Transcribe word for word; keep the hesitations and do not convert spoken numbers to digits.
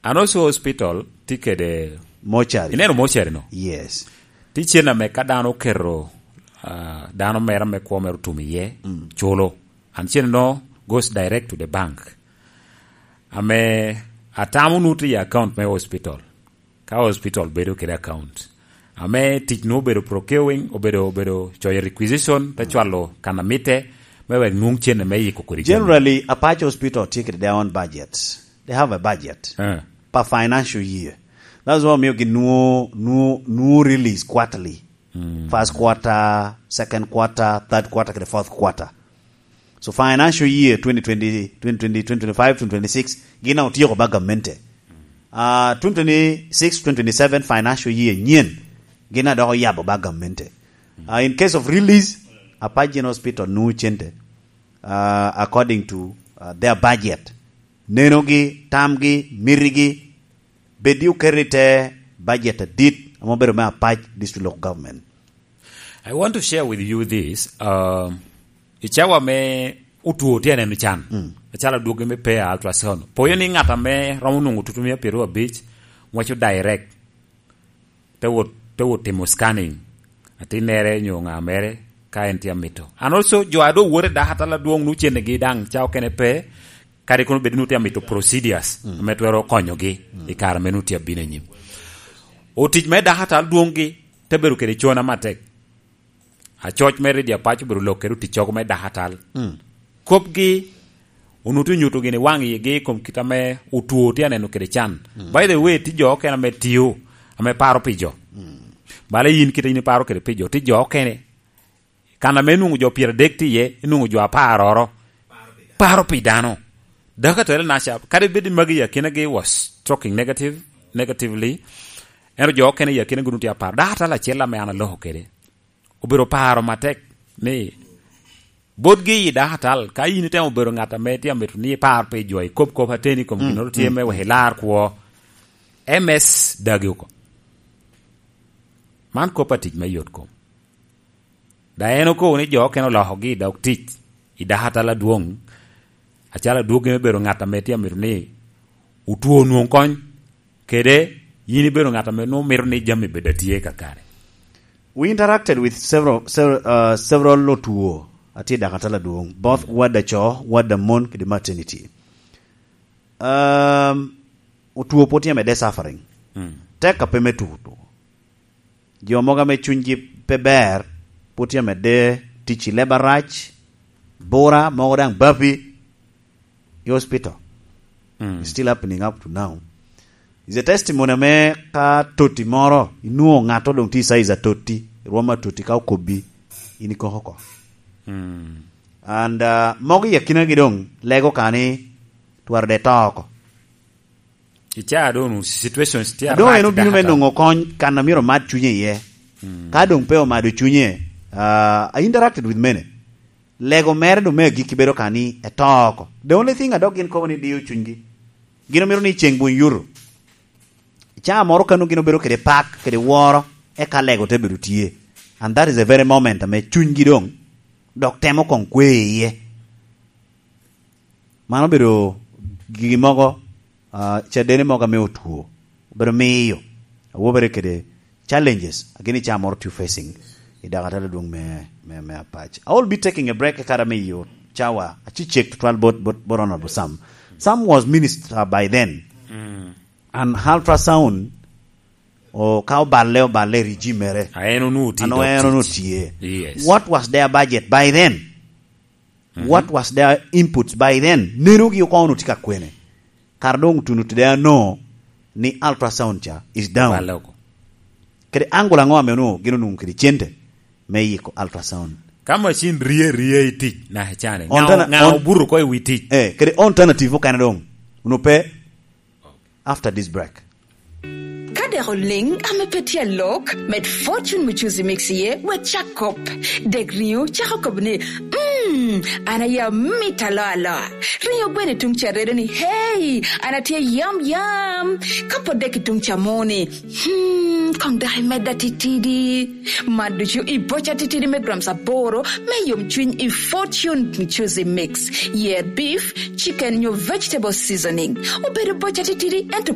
And also hospital tye kede Mortuary. Ineno mortuary no? Yes. Tye cen ame ka dano oketo, ah, dano mere ame kwo mere otum iye, mm, culo. And cen no goes direct to the bank. Ame atamo nuti i account me hospital. Ka hospital bedo kede account. Ame tic nu obedo procuring, obedo, obedo coyo requisition, te cwalo kan a mitte, me wek nwong cen me yiko kodi jami. Generally, Apac Hospital tye kede their own budget. They have a budget, eh, per financial year. That's why omiyo gin nwo, nwo, nwo release quarterly. Mm. First quarter, second quarter, third quarter, kede fourth quarter. So financial year twenty twenty, twenty twenty, twenty twenty-five, twenty twenty-six, gin a otyeko ba gamente. Ah, twenty twenty-six, twenty twenty-seven financial year nyen, gin a dok oyabo ba gamente. Ah, in case of release, Apac General Hospital nwo cente, ah, according to, ah, their budget. Nenogi, tamgi, mitigi, bed ni oketo i te budget adit, ame obedo me Apac District Local Government. I want to share with you this, um, i cawa me otwo tye aneno can, mm, acalo adwogi me pay ultrasound. Poyo ni ngat ame romo nwoŋo tutumia pyeraryo abic, waco direct, te wot, te wot timo scanning, atinnere nyo ŋa mere, ka en tye amito. And also, jo a doŋ woto i dakatal adwoŋ nu cennegi daŋ ca okene pe, kadi kono bed nu tye amito procedures, mm, ame twero konyogi, mm, i kare ame nu tye abino anyim. Otic me dakatal dwoŋgi te bedo kede con amatek. Acoc me Lydia Paco obedo lok kede oticcogo me dakatal. Mm. Kopgi onuti onyuto gini waŋ yigi i kom kit ame otwo tye aneno kede can. Mm. By the way, tye jo okene ame tio, ame paro pi jo. Mm. Bala yin kite yin iparo kede pi jo, tye jo okene. Kan ame inwoŋo jo pyeradek tye iye, inwoŋo jo aparoro. Paro pi dano. Dakatal naca, kadi bed ni magi i akinagi was talking negative, negatively, ento jo okene i akinagi onwoŋo tye aparo. Dakatal acel ame an aloko kede, obedo paro matek ni botgi i dakatal, ka yin itemo bedo ŋat ame tye amito ni ipar pi jo, ikob kop ateni i kom, mm, ginnoro tye, mm, me wek ilar kwo, M S dagi oko. Man kop atic me yot kom. Da en okobo ni jo okene olokogi i dog tic, i dakatal adwoŋ, acalo adwogi me bedo ŋat ame tye amito ni otwo onwoŋ kony, kede yin ibedo ŋat ame nwoŋo mito ni jami bed atye kakare. We interacted with several, several, uh, several otwo atye i dakatal adwoŋ, both wadda co, wadda mon, kede maternity. Um, otwo pwod tye amedde suffering. Mm. Tek ape me tuko two. Jo mogo ame cunygi pe ber, pwod tye amedde tic i leba rac, bura, mogo daŋ bapi i hospital. Mm. It's still happening up to now. It's a testimony ame ka totti moro, inwoŋo ŋatto doŋ tye i size atotti, rwom atotti, ka okobbi, in ikoko oko. Mm. And, uh, mogo i akinagi doŋ lego ka ni twero de to oko. I caa doŋ onwoŋo situations tye. Doŋ arac en obino me dakatal. Nwoŋo kony kan a myero omad cunye iye. Mm. Ka doŋ pe omado cunye, uh, I interacted with many. Lego mere doŋ me agikki bedo ka ni eto oko. The only thing a dok gin kobo ni diyo cunygi. Gin omito ni ceŋ buny yuto. Caa moro kano gin obedo kede pak, kede woro, eka lego te bedo tye. And that is the very moment ame cunygi doŋ dok temo koŋ kwe iye. Man obedo gigi mogo, ah, caden mogo ame otwo. Obedo miyo. Awobere kede challenges a gin i caa moro tye facing i dakatal adwoŋ me, me, me Apac. I will be taking a break, kara me iyo cawa, aci cek tutwal bot, bot, bot Honorable Sam. Sam was minister by then. Mm. And ultrasound, o, ka oballe, oballe i regime mere. A en onwoŋo tye i dog tic. Ano en onwoŋo tye. Yes. What was their budget by then? Mhm. What was their inputs by then? Nenogi oko onwoŋo tye ka kwene. Kara doŋ otuno today I know ni ultrasound ca is down. Oballe oko. Kede angle aŋo ame onwoŋo gin onwoŋo kede cente me yiko ultrasound? Ka macin rye, rye i tic naka cane. Ŋa, ŋa on-, obuto oko i wi tic? Eh, kede alternative okene doŋ. Onwoŋo pe after this break. Ka dek oliŋ ame pe tye alok, med Fortune Muchuzi Mix iye, wek cak kop. Dek riŋo cako kop ni, "Mm, an aye amito aloa aloa." Riŋo gweno i tuŋ ca redo ni, "Hey, an atye yam yam." Ka pwod dek i tuŋ ca mo ni, "Hmm, koŋ dok imedda titidi." Man ducu i boca titidi me grams aboro me yomcwiny i Fortune Muchuzi Mix. Yer beef, chicken nyo vegetable seasoning. Obedo boca titidi, ento